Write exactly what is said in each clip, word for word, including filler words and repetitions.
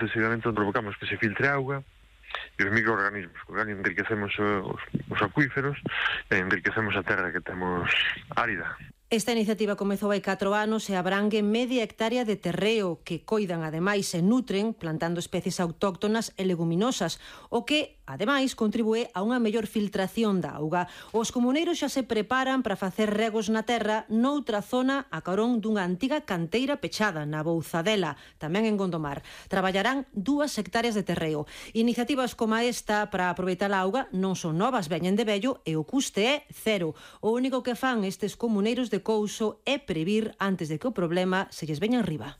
Deseguimento provocamos que se filtre auga e os microorganismos, con que enriquecemos os, os acuíferos e enriquecemos a terra que temos árida. Esta iniciativa comezou hai catro anos e abrangue media hectárea de terreo que coidan ademais e nutren plantando especies autóctonas e leguminosas, o que ademais contribúe a unha mellor filtración da auga. Os comuneiros xa se preparan para facer regos na terra noutra zona a carón dunha antiga canteira pechada na Bouzadela, tamén en Gondomar. Traballarán dúas hectáreas de terreo. Iniciativas como esta para aproveitar a auga non son novas, veñen de vello e o custe é cero. O único que fan estes comuneiros de couso é previr antes de que o problema se lles veña arriba.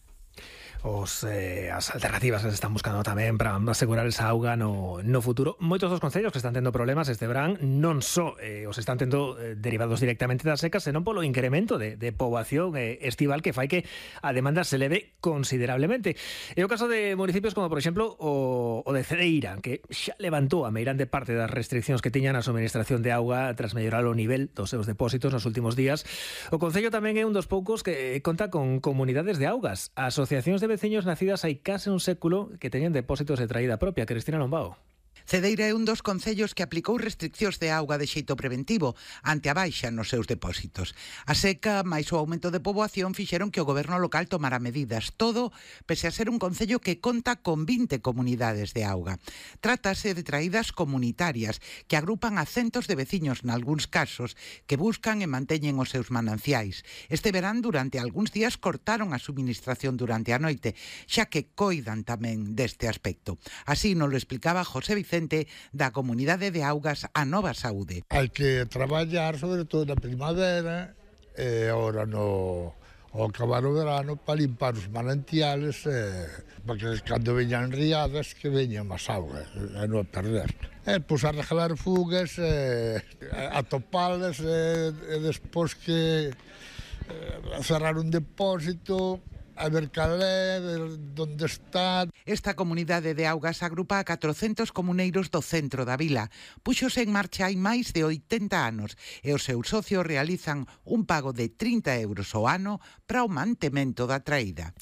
Os, eh, as alternativas que se están buscando tamén para asegurar esa auga no, no futuro. Moitos dos concellos que están tendo problemas este verán non só eh, os están tendo eh, derivados directamente das secas, senón polo incremento de, de poboación eh, estival que fai que a demanda se eleve considerablemente. É o caso de municipios como, por exemplo, o, o de Cedeira, que xa levantou a meirande parte das restriccións que tiñan a suministración de auga tras mellorar o nivel dos seus depósitos nos últimos días. O concello tamén é un dos poucos que conta con comunidades de augas, asociacións de veciños nacidas hai case un século que teñen depósitos de traída propia. Cristina Lombao. Cedeira é un dos concellos que aplicou restriccións de auga de xeito preventivo ante a baixa nos seus depósitos. A seca máis o aumento de poboación fixeron que o goberno local tomara medidas. Todo pese a ser un concello que conta con vinte comunidades de auga. Trátase de traídas comunitarias que agrupan a centos de veciños nalgúns casos que buscan e manteñen os seus mananciais. Este verán durante algúns días cortaron a suministración durante a noite, xa que coidan tamén deste aspecto. Así nos lo explicaba José Vicente da Comunidade de Augas A Nova Saúde. Hai que traballar sobre todo na primavera e agora no ao acabar o verano para limpar os manantiales eh, para que cando veñan riadas que veñan máis auga e non a perder. E pois arreglar fugas, eh, atopalas e, e despois que eh, cerrar un depósito, a ver cal é, ver onde está. Esta comunidade de augas agrupa a catrocentos comuneiros do centro da vila. Puxose en marcha hai máis de oitenta anos e os seus socios realizan un pago de trinta euros ao ano para o mantemento da traída.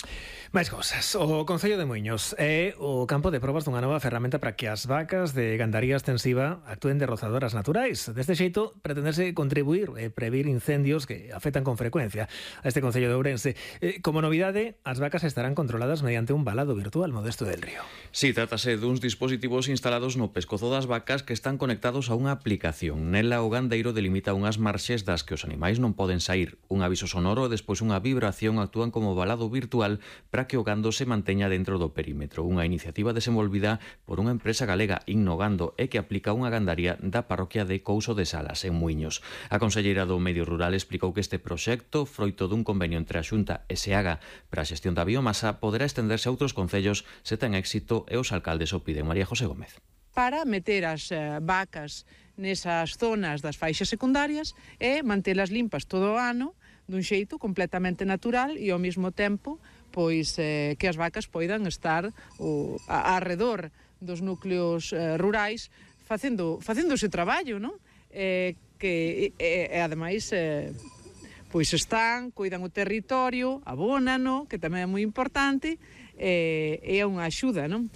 Mais cosas. O Concello de Muiños é o campo de probas dunha nova ferramenta para que as vacas de gandaría extensiva actúen de rozadoras naturais. Deste xeito, pretenderse contribuir e previr incendios que afectan con frecuencia a este Concello de Ourense. Eh, como novidade, as vacas estarán controladas mediante un balado virtual. Modesto del Río. Si, sí, trátase duns dispositivos instalados no pescozo das vacas que están conectados a unha aplicación. Nela o gandeiro delimita unhas marxes das que os animais non poden sair. Un aviso sonoro e despois unha vibración actúan como balado virtual para que o gando se manteña dentro do perímetro. Unha iniciativa desenvolvida por unha empresa galega, Innogando, e que aplica unha gandaría da parroquia de Couso de Salas, en Muiños. A conselleira do Medio Rural explicou que este proxecto, froito dun convenio entre a Xunta e Seaga para a xestión da biomasa, poderá estenderse a outros concellos se ten éxito e os alcaldes o piden. María José Gómez. Para meter as eh, vacas nesas zonas das faixas secundarias e mantelas limpas todo o ano dun xeito completamente natural e ao mesmo tempo pois eh, que as vacas poidan estar o, a, arredor dos núcleos eh, rurais facendo, facendo ese traballo, non? Eh, que e, e ademais eh, pois están, cuidan o territorio, abónano, que tamén é moi importante, e é unha axuda, non?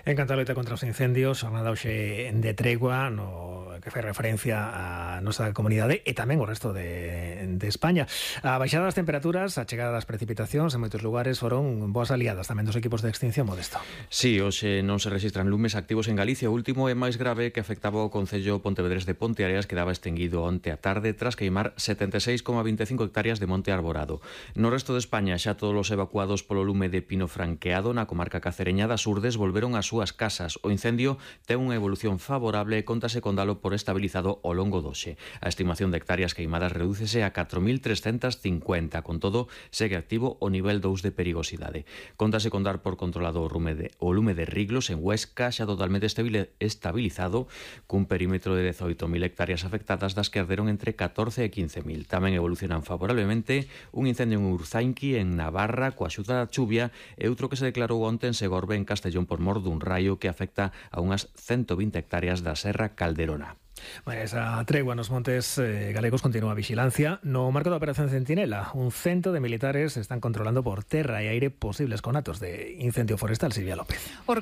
En canto a loita contra os incendios, xornada hoxe de tregua no que fai referencia á nosa comunidade e tamén o resto de, de España. A baixada das temperaturas, a chegada das precipitacións en moitos lugares foron boas aliadas tamén dos equipos de extinción. Modesto. Sí, hoxe non se registran lumes activos en Galicia. O último é máis grave, que afectaba o concello Pontevedrés de Ponteareas, que daba extinguido onte a tarde tras queimar setenta e seis coma veinticinco hectáreas de monte arborado. No resto de España, xa todos os evacuados polo lume de pino franqueado na comarca cacereña das Urdes volveron ás súas casas. O incendio ten unha evolución favorable e contase con dalo por estabilizado ao longo doxe. A estimación de hectáreas queimadas redúcese a catro mil trescentas cincuenta. Con todo, segue activo o nivel dous de perigosidade. Contase con dar por controlado o, lume de, o lume de Riglos en Huesca, xa totalmente estabilizado, cun perímetro de dezoito mil hectáreas afectadas, das que arderon entre catorce e quince mil. Tamén evolucionan favorablemente un incendio en Urzainqui, en Navarra, coa axuda da chuvia, e outro que se declarou onte en Segorbe, en Castellón, por mor dun raio que afecta a unhas ciento vinte hectáreas da Serra Calderona. Bueno, esa tregua nos montes eh, galegos continúa a vigilancia. No marco da Operación Centinela, un cento de militares están controlando por terra e aire posibles conatos de incendio forestal. Silvia López.